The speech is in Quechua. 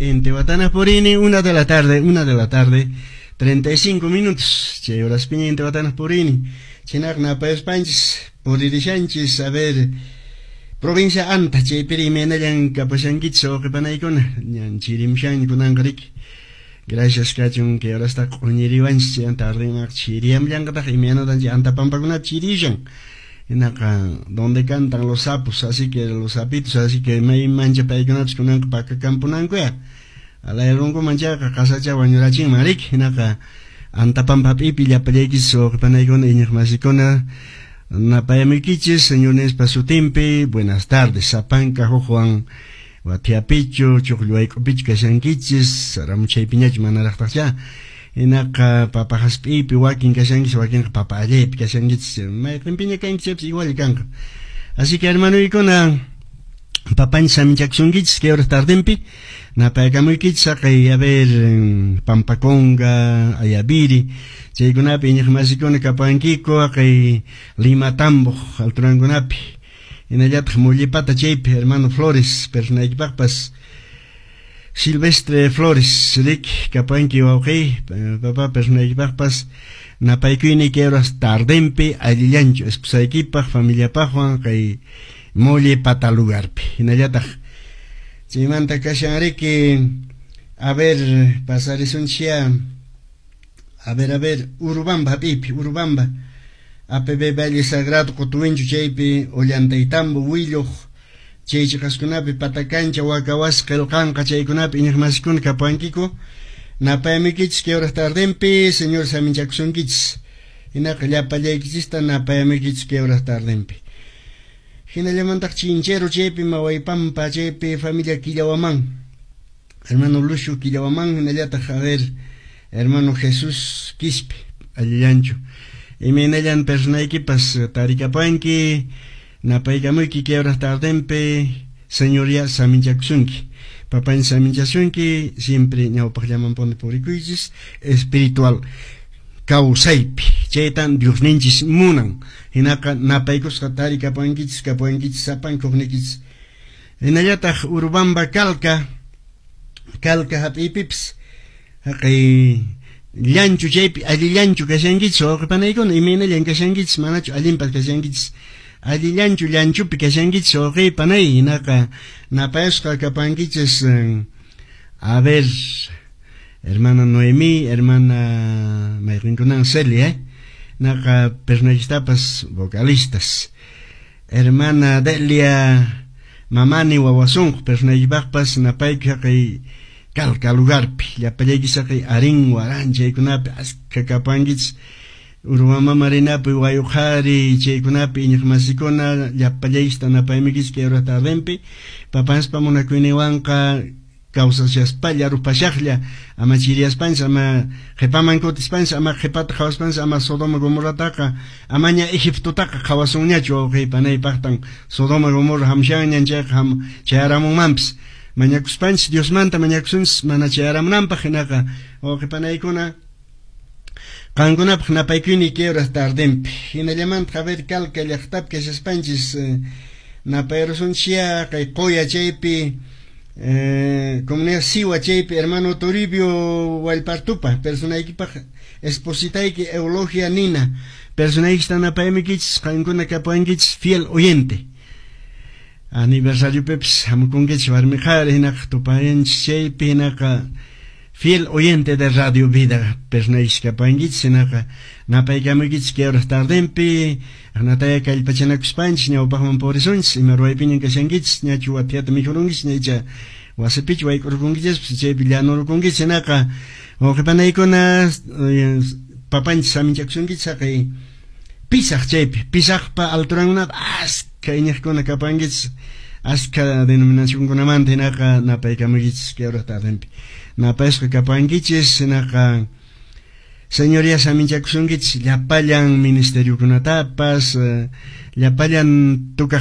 Intihuatana purini, 1 de la tarde, 1 de la tarde, 35 minutos. Chay horaspiña Intihuatana purini. Chinaq napayuspanchis, puririshanchis, a ver, provincia Anta, chaypiri imaynallan kapashankichis wawqipanaykuna, ñan chirimshan kunanqa riki. Gracias kachun kay horasta q'uñiriwanchis chay tardenqa chiriyamllanqataq imaynatan chay Anta pampakunapi chirishan. Hinaqa donde cantan los sapos, así que los sapitos, así que may mancha paykunapis kunanqa pakakampunankuya. Alayrunkuman chayqa qasacha wañurachinman riki. Hinaqa Anta pampapipi llapallaykichis wawqipanaykuna iñiqmasikuna napayamuykichis Señor nispa sutinpi. Buenas tardes, sapanka hukwan wathiapichu, chuqllu wayk'upichu kashankichis, saramuchaypiñachu manaraqtaqcha. Hinaqa papa hasp'iypi wakin kashankichis, wakinqa papa allaypi kashankichis, mayqinpiña kankichis igual kanqa. Así que hermanoykuna, papanchis saminchakusunkichis kay horas tardenpi, napaykamuykichis haqay, a ver, Pampaconga, Ayaviri, chaykunapi iñiqmasikuna kapankiku, haqay Lima Tamboq alturankunapi. Hinallataq Mollepata chaypi hermano Flores, personaykipaqpas Silvestre Flores, rik kapanki wawqiy, papá personaykipaqpas napaykuyni kay horas tardenpi allillanchu esposaykipaq, familiapaqwan kay Mollepata lugarpi. Hinallataq chaymanta kashan riki, a ver, pasarisunchia, a ver, Urubamba hap'ipi, Urubamba, APB Valle Sagrado Qutuwinchu chaypi Ollantaytambo Willuq chay chiqaskunapi Patacancha Wakawas qillqanqa chaykunapi iñiqmasikuna kapuwankiku. Napayamuykichis kay horas tardenpi, Señor saminchakusunkichis. Hinaqa llapallaykichista napayamuykichis kay horas tardenpi. Hinallamantaq Chinchero chaypi Mawaypampa chaypi familia Killawaman, hermano Lucio Killawaman, hinallataq a ver, hermano Jesús Quispe, allillanchu. Imaynallan personaykipas tarikapanki, napaykamuyki kay horas tardenpi, Señor ya saminchakusunki. Papanchis saminchasunki, siempre ñawpaqllamanpuni purikuychis, espiritual kawsaypi. Chaytan Diosninchis munan. Hinaqa napaykusqa tarikapankichis, kapuankichis, sapanka huknikichis. Hinallataq Urubamba Calca, Calca hap'iypipis, haqay llanchu chaypi allillanchu kashankichis wawqipanaykuna, imaynallan kashankichis, manachu allinpas kashankichis. Allillanchu llanchupi kashankichis wawqipanay, hinaqa napayasqa kapankichis, a ver, hermana Noemí, hermana mayqinkunan Celia, naqa personajistapas vocalistas. Hermana Delia Mamani wawasunq personajipaqpas napayki haqay Calca lugarpi, llapallaykichis haqay Arín Waran chaykunapi askha kapankichis. Urubamba Marinapi Wayuqhari chaykunapi iñiqmasikuna llapallaykichista napaymikichis kay hora tardenpi. Papanspa munakuyninwanqa kawsashaspalla rupashaqlla, ama chiriyaspanchis, ama qhipaman kutispanchis, ama qhipata qhawaspanchis, ama Sodoma Gomorrataqa, amaña Egiptotaqa qhawasunñachu wawqipanaypaqtan Sodoma Gomorra hamshanñan chayqa chayaramunmanpis. Mañakuspanchis Diosmanta mañakusunchis mana chayaramunanpaq, hinaqa wawqipanaykuna qankunapaq napaykuyni kay horas tardenpi. Hinallamanta a ver Calca llaqtapi kashaspanchis napayrusunchis kay Qoya chaypi, comunidad Siwa chaypi hermano Toribio Walpartupa, personaykipaq espositayki Eulogia Nina, personaykista napaymikichis, qankuna kapuankichis fiel oyente. Aniversario pepis hamukunkichis warmi qhari hinaqa tupayanchis chaypi, hinaqa fiel oyente de Radio Vida personaykis kapuankichis, hinaqa napaykamuykichis kay horas tardenpi, aqnataya kallpachanakuspanchis ñawpaqman purisunchis, ima ruwaypiñan kashankichis, ñachu wathiata mikhurunkichis, ñaycha wasipichu wayk'urkunkichis, chaypi llanurukunkichis, hinaqa wawqipanaykuna papanchis saminchakusunkichis haqay Pisaq chaypi, Pisaqpa alturankunapi askha iñiqkuna kapankichis, askha denominacionkunamanta hinaqa napaykamuykichis kay horas tardenpi. Napayasqa kapankichis, hinaqa Señoría saminchakusunkichis llapallan ministeriokunatapas, llapallan tukaq